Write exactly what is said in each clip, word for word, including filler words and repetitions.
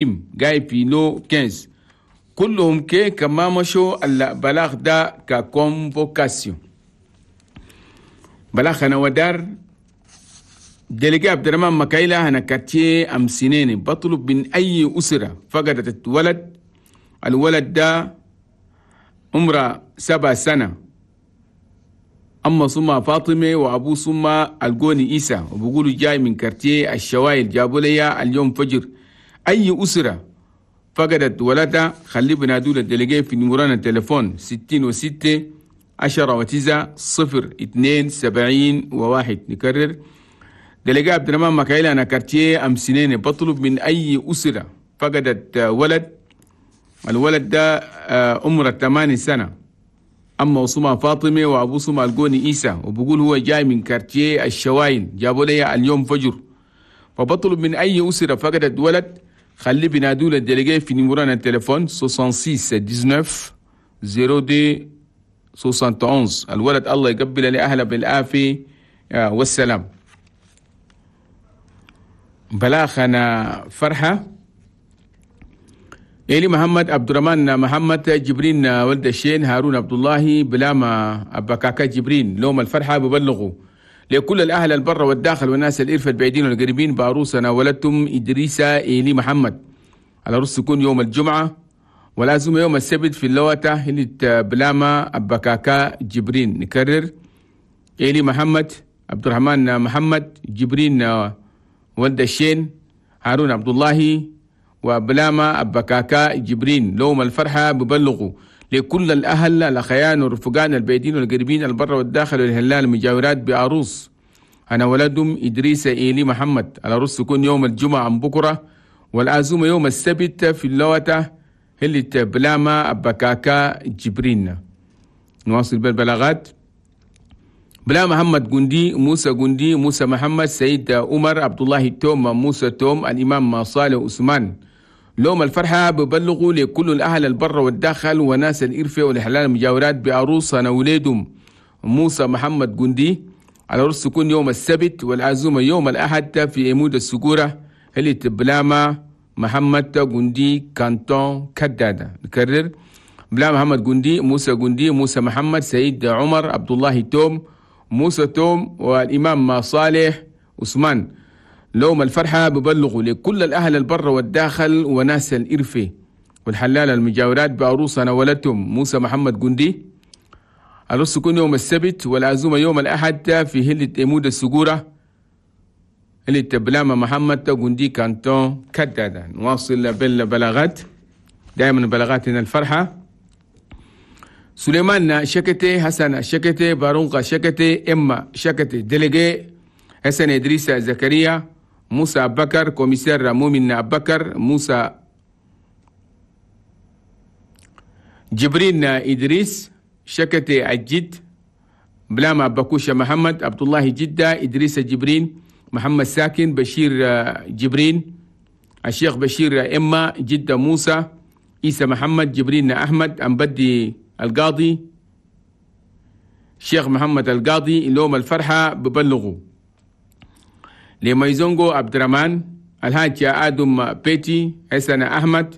قاعد في lot خمستاشر كلهم كي كما مشوا البلاغ ده ك convocation. بلاغ هنا ودار délégué عبد الرحمن مكايلا هنا quartier أم سنين، بطلب من أي أسرة فقدت ولد، الولد ده عمره سبع سنة، أما سمى فاطمة وأبو سمى الجوني إيسا، وبقولوا جاي من quartier الشوايل، جابوا لي اليوم فجر. أي أسرة فقدت ولدها خلي بنادوا ال délégué في numéro التليفون ستين وستة عشرة وتسعة صفر اثنين سبعين وواحد. نكرر، délégué عبد الرحمن مكايلا هنا quartier أم سنين بطلب من أي أسرة فقدت ولد، الولد ده عمره ثمانية سنة، أما اسمها فاطمة وأبو اسمه الجوني إيسا، وبقول هو جاي من quartier الشوايل، جابوا لي اليوم فجر. فبطلب من أي أسرة فقدت ولد خلي بنادوا ال délégué في numéro التليفون ستة وستين تسعتاشر اثنين واحد واحد. الولد الله يقبل لأهله بالعافية والسلام. بلاغ هنا فرحة، إيلي محمد، عبد الرحمن محمد، جبرين ولد الشين، هارون عبد الله، بلاما أبكاكا جبرين، لوم الفرحة ببلغوا لكل الأهل البر والداخل والناس الإرفة البعيدين والقريبين بعروسنا ولدتم إدريسة إيلي محمد. العروس تكون يوم الجمعة والعزومة يوم السبت في اللوتة اللي بلاما أبكاكا جبرين. نكرر، إيلي محمد، عبد الرحمن محمد، جبرين ولد الشين، هارون عبد الله، وبلاما أبكاكا جبرين، لوم الفرحة ببلغوا لكل الأهل الأخيان والرفقان البعيدين والقريبين البر والداخل والهلال المجاورات بعروس هنا ولدهم إدريس إيلي محمد. العروس تكون يوم الجمعة عن بكرة والعزومة يوم السبت في اللوتة اللي بلاما أبكاكا جبرين. نواصل بالبلاغات. بلا محمد جندي، موسى جندي، موسى محمد، سيد عمر، عبد الله توم، موسى توم، الإمام صالح عثمان، لوم الفرحة ببلغوا لكل الأهل البر والداخل وناس الإرفة والحلال المجاورات بعروس وليدهم موسى محمد جندي. العرس تكون يوم السبت والعزومة يوم الأحد في عمود السجورة اللي بلاما محمد جندي canton كدادة. نكرر، بلا محمد جندي، موسى جندي، موسى محمد، سيد عمر، عبد الله توم، موسى توم، والإمام صالح عثمان، لوم الفرحة ببلغوا لكل الأهل البر والداخل وناس الإرفة والحلال المجاورات بعروسنا ولدتهم موسى محمد جندي. العرس يكون يوم السبت والعزومة يوم الأحد في هلة إمود السجورة هلة بلاما محمد جندي canton كدادة. نواصل بالبلاغات، دائما بلاغاتنا الفرحة. سليمان شكتي، حسن شكتي، بارونقا شكتي، إما شكتي، délégué حسن إدريس زكريا، موسى بكر، commissaire مؤمن بكر، موسى جبرين إدريس شكتي الجد، بلاما بكوشة محمد عبد الله جدة، إدريس جبرين، محمد ساكن، بشير جبرين، الشيخ بشير إما جدة، موسى عيسى محمد، جبرين أحمد، أمبدي القاضي، شيخ محمد القاضي، لوم الفرحة ببلغوا لميزونغو عبد الرحمن، الحاج آدم بيتي، حسن أحمد،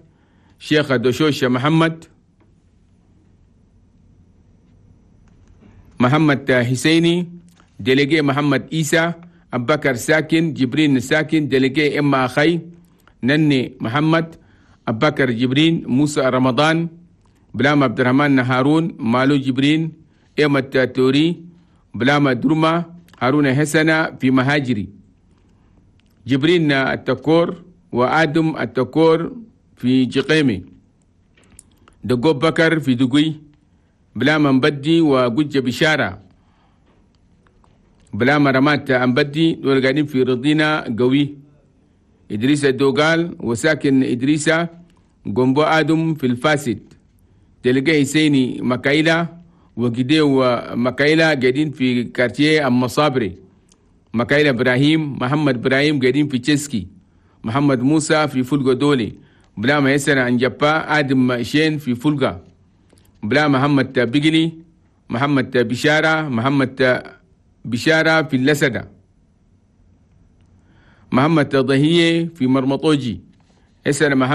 شيخ دوشوش محمد، محمد حسيني، délégué محمد إيسى، أبكر ساكن، جبرين ساكن، délégué إما أخي نني محمد، أبكر جبرين، موسى رمضان، بلام عبد الرحمن هارون، مالو جبرين، إيمة توري، بلام درما، هارون حسنة في مهاجري، جبرين التكور وآدم التكور في جقيمي، دقوب بكر في دقوي، بلام مبدي وجوجة بشارة، بلام رمات أمبدي دول في رضينا قوي، إدريس الدوغال وساكن إدريسة جنبو آدم في الفاسد، تلقى حسيني مكايلا وجديو مكايلا قاعدين في quartier المصابري، مكايلا إبراهيم، محمد إبراهيم قاعدين في تشيسكي، محمد موسى في فولغا دولي، بلا ما يسر عن جبا، آدم شين في فولغا، بلا محمد بقلي، محمد بشارة، محمد بشارة في اللسدة، محمد ضهية في مرمطوجي، حسن محمد.